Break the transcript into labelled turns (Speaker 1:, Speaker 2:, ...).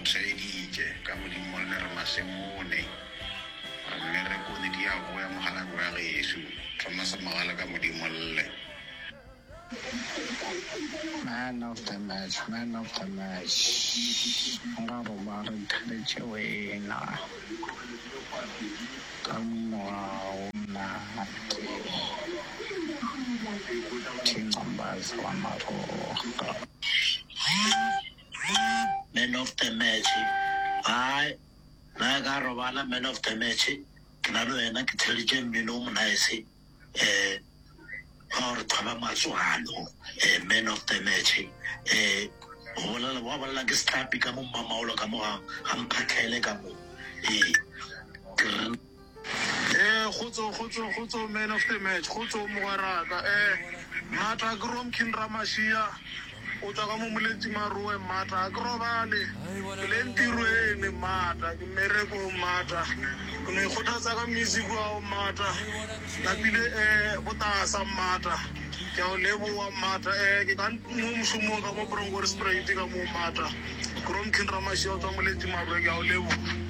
Speaker 1: go theeditše ka Modimo le re masemone. Re mmerekone di a boya mokgalabje wa gešo Thomas Mogale ka Modimo lle.
Speaker 2: Man of the match, man of the match, nka roba re thabetše wena ka mogau monate, Thingombazi wa Maroga.
Speaker 3: Man of the match, hai nna ka robala man of the match, ke na le wena ke theleditše mmino o monice. um wa gore thoba matswalo um man of the match um go bolela wa bolela ke sehlapi ka mo mmamaolo ka mo ga ga mphatlhele ka mo ee ke re
Speaker 4: Eh, kgotso kgotso kgotso man of the match kgotso mogweraka eh mmatla ke romkin ramashia o tswa ka mo moletši maroe mmatla a ke robale ke le ntirweni mmatla ke mmerekong mmatla ke no ikgothatsa ka music wa mmatla napile um botasa mmatla ke a o leboa mmatla um ke ka mo mošomong ka mo bronkhorstspruit ka mo mmatla ke romkin ramashia o tswa moletši maroe ke a o leboa.